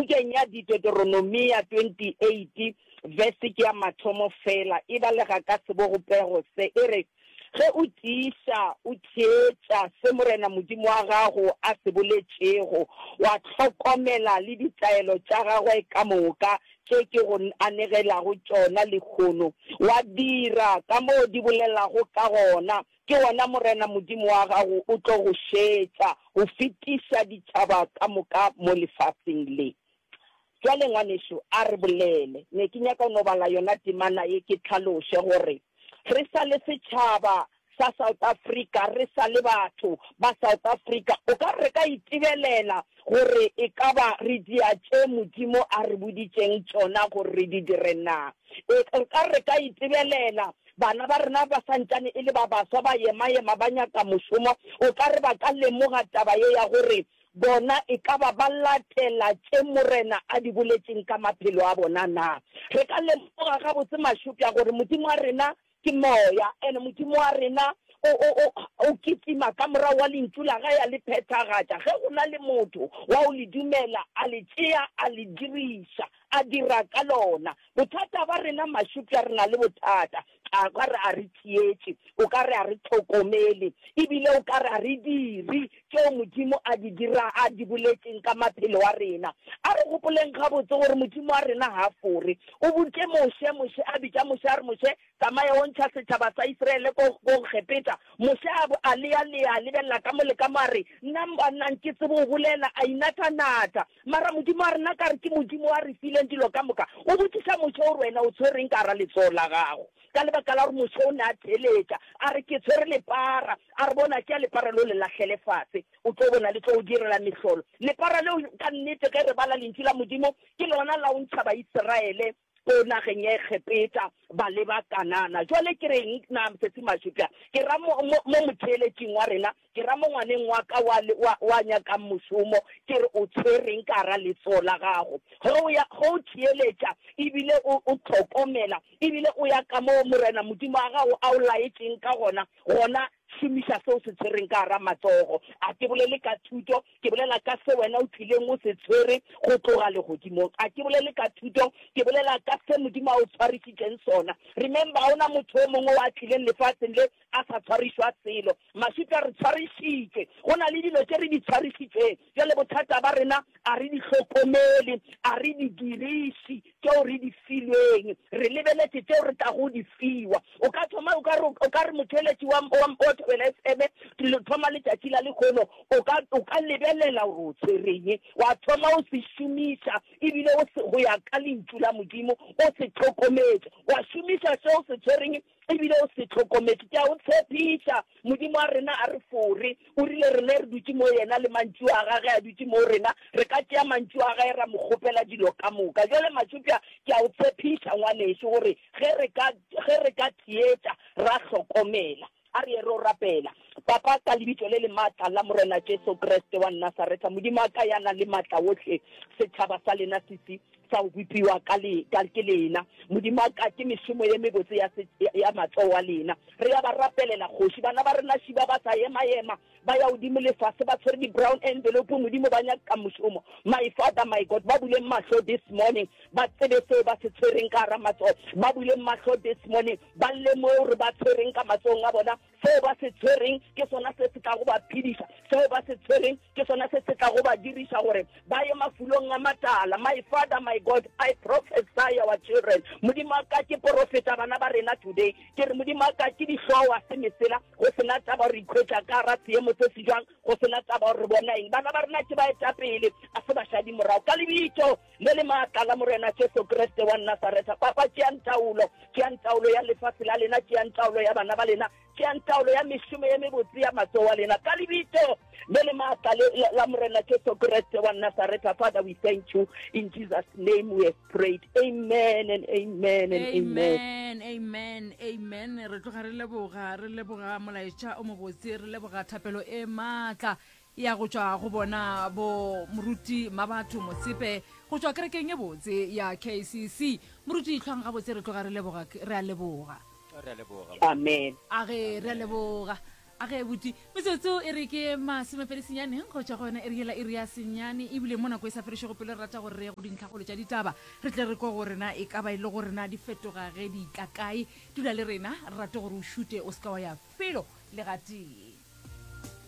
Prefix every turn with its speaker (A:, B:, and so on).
A: Pukeng ya Deuteronomia 28, verse ke ya mathomo fela, e balega ka sebogopego se, e re, Ge o tiiša o theetša se Morena Modimo wa gago a se boletšego, wa hlokomela le ditaelo tša gagwe ka moka tše ke go anegelago tšona lehono, wa dira ka moo di bolelago ka gona, ke gona Morena Modimo wa gago o tlo go šetša go fetiša ditšhaba ka moka mo lefaseng le. Bjale, ngwanešu, a re bolele. Ne ke nyaka go no bala yona temana ye ke hlaloše gore re sa le setšhaba sa South Africa, re sa le batho ba South Africa, o ka re re ka itebelela gore e ka ba re dia tše Modimo a re boditšeng tšona gore re di dire na? E, re ka re re ka itebelela bana ba rena ba sa ntšane e le ba baswa ba ema-ema ba nyaka mošomo, o ka re ba ka lemoga taba ye ya gore Bona e ka ba ba latela tše Morena a di boletšeng ka maphelo a bona na? Re ka lemoga gabotse mašupša gore Modimo wa rena ke Moya, and Modimo wa rena o, o, o, o kitima ka morago wa Lentšu la Gae a le phethagatša. Ge go na le motho wa go le dumela, a le tšea, a le diriša, a dira ka lona. Bothata ba rena mašupša, re na le bothata. A ka re a re theetše, o ka re a re hlokomele, e bile o ka re a re dire tšeo Modimo a di dira, a di boletšeng ka maphelo a rena. A re gopoleng gabotse gore Modimo wa rena ga a fore. O boditše Moshe, Moshe a bitša Moshe a re, Moshe, tsamaya o ntšha setšhaba sa Israele ko, ko Egepeta. Moshe a, a lealea, a lebelela ka mo le ka mo, a re, Nna, nna nke tsebe go bolela, a inathanatha. Mara Modimo wa rena ka re ke Modimo wa re fileng dilo ka moka. O botšiša Moshe o re, Wena o tshwereng ka gara letsogo la gago? Ka lebaka la gore Moshe o ne a theeletša, a re, Ke tshwere lepara. A re, Bona, tšea lepara leo le lahlele fase, o tlo bona le tlo o direla mehlolo. Lepara leo, ka nnete, ge re bala Lentšu la Modimo, ke lona la go ntšha Baisraele ko nageng ya Egepeta ba leba Kanana. Jwale ke reng na, Sesi Mashupja? Ke ra mo, mo, mo motheeletšing wa rena, ke ra mo ngwaneng wa ka wa, wa, wa nyakang mošomo, ke re o tshwereng ka gara letsogo la gago? Ge o ya, ge o theeletša ebile o, o hlokomela, ebile o ya kamoo Morena Modimo wa gago a o laetšeng ka gona, gona šomiša se o se tshwereng ka gara matsogo. A ke bolele ka thuto, Ke bolela ka se wena o tlileng o se tshwere go tloga Legodimong. A ke bolele ka thuto, ke bolela ka se Modimo a o tshwarišitšeng sona. Remember, ga o na motho o mongwe o a tlileng lefaseng le a sa tshwarišwa selo. Maswika, re tshwarišitšwe. Go na le dilo tše re di tshwarišitšweng. Bjale bothata ba rena, a re di hlokomele, a re di diriše. Tšeo re di filweng, re lebeletše tšeo re tlago di fiwa. O ka thoma, o ka re, o ka re motheeletši wa, wa, wa Thobela FM, thoma letšatši la lehono, o ka, o ka lebelela gore o tshwereng, wa thoma o se šomiša, ebile o se, go ya ka Lentšu la Modimo, o se hlokometše, wa šomiša se o se tshwereng, Ebile o se hlokometše. Ke a o tshepiša, Modimo wa rena a re fore. O rile rena re dutše mo yena le mantšu a gage a dutše mo rena, re ka tšea mantšu a gae ra mo kgopela dilo ka moka. Bjale Matšupša, ke a o tshepiša, ngwanešu, gore ge re ka, ge re ka theetša, ra hlokomela. A re ye re o rapela. Papa, ka Lebitso le le maatla la Morena Jesu Kriste wa Nasaretha, Modimo wa ka ya nang le maatla wohle, setšhaba sa lena se se sa go bopiwa ka le, ka, ke lena. Modimo wa ka, ke mešomo ye mebotse ya, se, ya matsogo a lena. Re a ba rapelela, Kgoši. Bana ba rena šiba ba sa ema-ema, ba ya godimo le fase, ba tshwere di-brown envelope, Modimo, ba nyaka mošomo. My Father, my God, ba buleng mahlo this morning, ba tsebe seo ba se tshwereng ka gara matsogo. Ba buleng mahlo this morning, ba lemoge gore ba tshwereng ka matsogong a bona. Seo ba se tshwereng ke sona se se tlago ba phediša. Seo ba se tshwereng ke sona se se tlago ba diriša gore ba ye mafulong a matala. My Father, my God, I prophesy our children. Modimo wa ka, ke porofeta bana ba rena today. Ke re, Modimo wa ka, ke dihloa se mesela, go se na taba gore re ikhwetša ka gara seemo se se jwang, go se na taba gore re bona eng. Bana ba rena ke baetapele, a se bašadi morago. Ka lebitso le le maatla la Morena Jesu Kriste wa Nasaretha. Papa, tšeang taolo, tšeang taolo ya lefase la lena, tšeang taolo ya bana ba lena, tšeang taolo ya mešomo ye mebotse ya matsogo a lena. Ka lebitso le le maatla le la Morena Jesu Kriste wa Nasaretha. Father, we thank you. In Jesus' name we have prayed. Amen and amen and amen.
B: Amen, amen, amen. Re tloga re leboga, re leboga molaetša o mobotse, re leboga thapelo e maatla. Ya go tšwa go bona bo Moruti Mabatho Motsepe go tšwa kerekeng e botse ya KCC. Moruti hlwang gabotse re tloga re leboga re a leboga.
C: Re a leboga.
A: Amen.
B: A ge re a leboga. A ge buti, metsotso e re ke masomepedi senyane go tšwa go yona iri yela iri ya senyane, ebile mo nako e sa fedišego pelo re rata gore re ye go dintlhakgolo tša ditaba, re tle re kwe gore na e ka ba e le gore na di fetoga ge di tla kae. Dula le rena, re rate gore o šute o se ka wa ya felo le gatee.